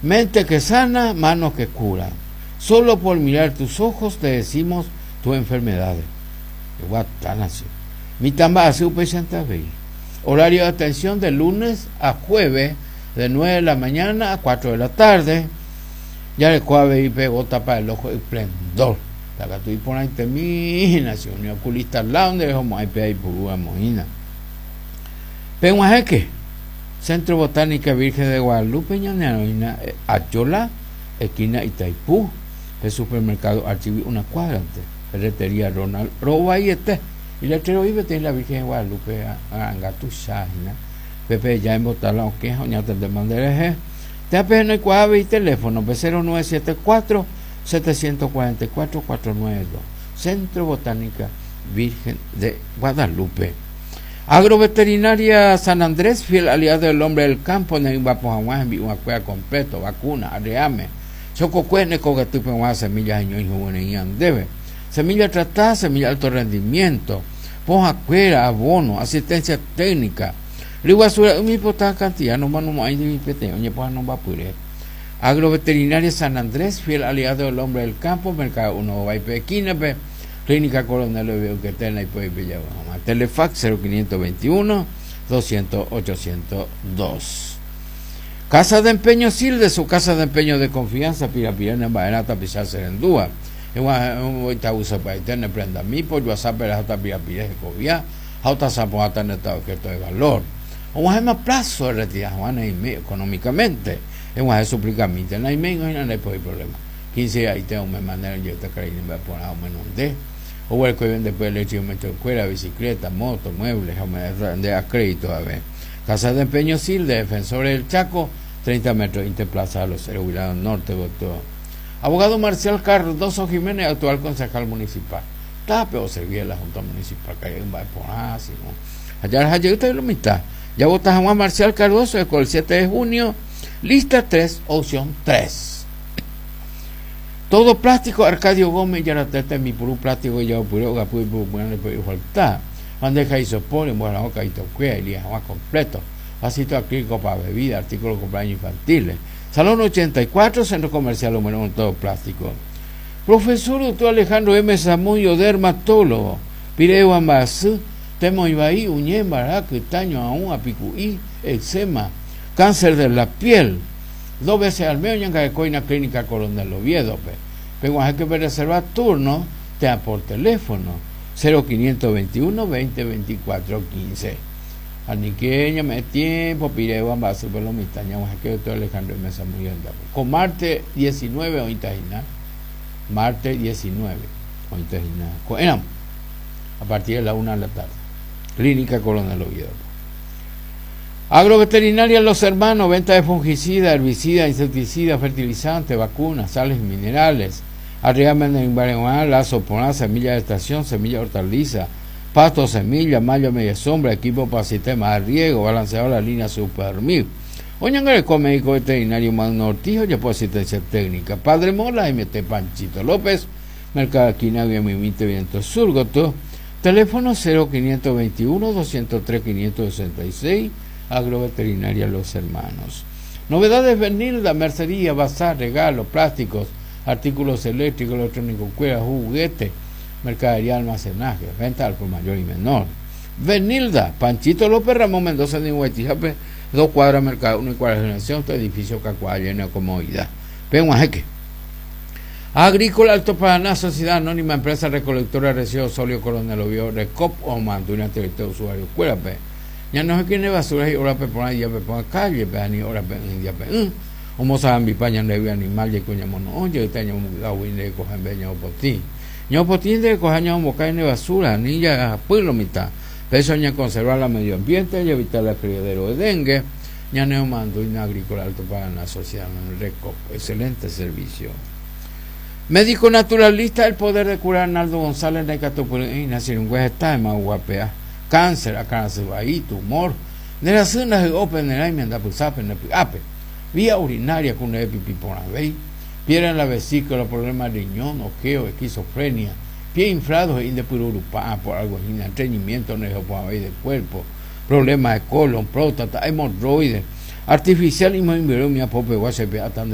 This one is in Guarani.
Mente que sana, manos que curan. Solo por mirar tus ojos te decimos tus enfermedades. Eguatána che. Mitã mba'asy upéichante avei. Horario de atención de lunes a jueves de 9 de la mañana a 4 de la tarde. Jareko avei pe gota para el ojo Esplendor. Katu iporãitemi hína che umi oculista lado nderehomo'ãi pe aipuru ramo hína. Peg̃uahẽke Centro Botánica Virgen de Guadalupe ñanearõina Ayola, esquina Itaipú, pe supermercado Archigui una cuadra-nte, ferretería Ronald rovaiete. Iletrero'i peteĩ la Virgen de Guadalupe ra'anga tuicha hína. Pépe eja embota la okẽ ha oñatendéma nderehe. Térã pehenoikuaa avei teléfono-pe 0974 744 492, Centro Botánica Virgen de Guadalupe. Agroveterinaria San Andrés, fiel aliado del hombre del campo, ne'ỹmbapo hag̃ua hembi'uakuéra completo, vacuna, arreame, chokokue ne kogatýpe g̃uarã semilla heñói huguereĩ andéve, semilla tratada, semilla alto rendimiento, pohãkuéra, abono, asistencia técnica, ryguasu ra'y ipotã cantidad nomanomo'ãi ndivi peteĩ oñepohãnombapyre. Agroveterinaria San Andrés, fiel aliado del hombre del campo, Mercado Uno Ováipe esquina-pe, Clínica Coronel Oive'ykete naipói pejavy hag̃ua. Telefax 0521 200 802. Casa de Empeño Silde, su casa de empeño de confianza, pirapire ne mba'erã tapicha che rendúva. Eg̃uahẽ itavusapaite ne prendami, pojuasápe reháta pirapire hekovia ha otasa porãta nde ta objeto de valor. Og̃uahẽma plazo erretira hag̃ua ne ime económicamente. Eg̃uahẽ suplicamínte, naiméingo hína ndaipói problema. Quince aite ome manera ojeheta karai mba'e porã omenonde. Oguereko ivendepy electrodomésticos-kuéra, bicicleta, moto, mueble ha ome'ẽta nde a crédito ave. Casa de Empeño Sil, de Defensores del Chaco, 30 metros inte Plaza de los Héroes, lado norte gotyo. Abogado Marcial Cardozo Jiménez, actual concejal municipal. Tape oservi la Junta Municipal karia'y mba'e porã, sino ha jaraha jeýta lo mitã. Javota hag̃ua Marcial Cardozo, el 7 de junio, lista 3, opción 3. Todo plástico Arcadio Gómez ijaratẽ tembipuru plástico ijapopyre ogapy ipurupyrã ndepoi ofalta. Bandeja isopor, emboharaõ kaitokuéra, ilia hag̃ua completo. Vasito acrílico pa bebida, artículo cumpleaños infantiles. Salón 84, Centro Comercial Número 1, todo plástico. Profesor Doctor Alejandro M. Zamudio, dermatólogo. Pire'egua mba'asy, temoĩ vai, uñe, mbara, kyta, ñoaũ, apiku'i, eczema, cáncer de la piel. Dos veces al mes oñangarekóina Clínica Coronel Oviedo-pe. Peg̃uahẽke pereserva turno térã por teléfono, 0521 20 24 15. Anike ñame'ẽ tiempo piréva mba'asýpe lo mitã ñag̃uahẽke Doctor Alejandro Meza muy rendápe. Ko martes 19 oĩta hína, martes 19 oĩta hína ko'ẽramo, a partir de la una de la tarde. Clínica Coronel Oviedo-pe. Agroveterinaria Los Hermanos, venta de fungicida, herbicida, insecticida, fertilizante, vacunas, sales y minerales. Arriba en lazo porã, semilla de estación, semilla de hortaliza, pasto, semilla, malla media sombra, equipo para sistema de riego, balanceado la línea Super Mil. Oñangareko médico veterinario Magno Ortiz, ojapo asistencia técnica. Padre Mola, MT Panchito López, Mercado Esquina, Mimite Viento Sur, gotyo. Teléfono 0521 203 566, Agroveterinaria Los Hermanos. Novedades Benilda, mercería, bazar, regalos, plásticos, artículos eléctricos, electrónicos, cueras, juguetes, mercadería, almacenaje, venta al por mayor y menor. Benilda, Panchito López, Ramón Mendoza, de Huaytijape, 2 cuadras, Mercado 1 y cuadras de Nación, este edificio Cacuá, lleno de comodidad. Peguajeque. Agrícola Alto Paraná, Sociedad Anónima, Empresa Recolectora de Residuos Sólidos Coronel Oviedo, Recop, o Manduina, Territorio Usuario, Cuérape. Ya no sé quién es basura y ahora pe pon ahí, ya pe pon calle, pe ani, ahora pe ya pe o moza ambi pa ñande animal, ya coña mono, oye, está ña mo gawi de coja en beña o potí. Ña potí de coja ña mo cae de basura, ni ya pueblo mitad. Pero ña conservar la medio ambiente y evitar la criadero de dengue. Ña neo Manduina Agrícola Alto Paraná, Sociedad Anónima, Recop, excelente servicio. Médico naturalista, el poder de curar Arnaldo González de Catupurina, Sirungüe está en Maguapea, cáncer, acá se va ahí, tumor, de la zona de Open, de la enmienda, pues, sape, de ape, vía urinaria con el pipí por la vei, piedra en la vesícula, problemas de riñón, ojeo, esquizofrenia, pie inflado e indepururupá, por algo así, estreñimiento, no por ahí del cuerpo, problemas de colon, próstata, hemorroides, artificial y muy mi apope, guasepe, atan de